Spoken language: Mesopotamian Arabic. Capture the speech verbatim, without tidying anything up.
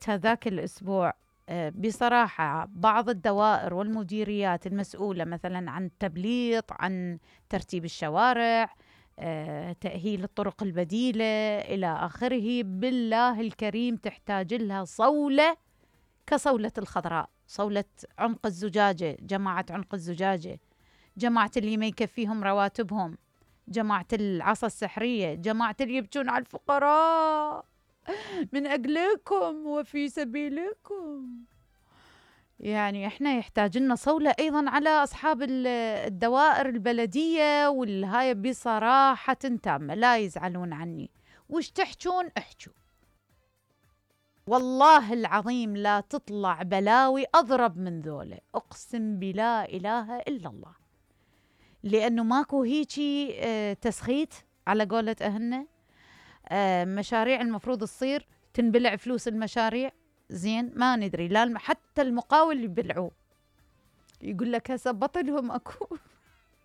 هذاك الأسبوع آه، بصراحة بعض الدوائر والمديريات المسؤولة مثلا عن التبليط، عن ترتيب الشوارع، آه، تأهيل الطرق البديلة إلى آخره، بالله الكريم تحتاج لها صولة كصولة الخضراء، صولة عنق الزجاجة، جماعة عنق الزجاجة، جماعة اللي ما يكفيهم رواتبهم، جماعة العصا السحرية، جماعة اللي يبكون على الفقراء من أجلكم وفي سبيلكم. يعني احنا يحتاج لنا صولة أيضا على أصحاب الدوائر البلدية والهاي بصراحة تامة، لا يزعلون عني، وش تحجون احجوا، والله العظيم لا تطلع بلاوي أضرب من ذولا، أقسم بلا إله إلا الله، لأنه ماكو هيجي اه تسخيت على قولة أهلنا. اه مشاريع المفروض تصير تنبلع فلوس المشاريع، زين ما ندري لا حتى المقاول يبلعوه، يقول لك هسه بطلهم اكو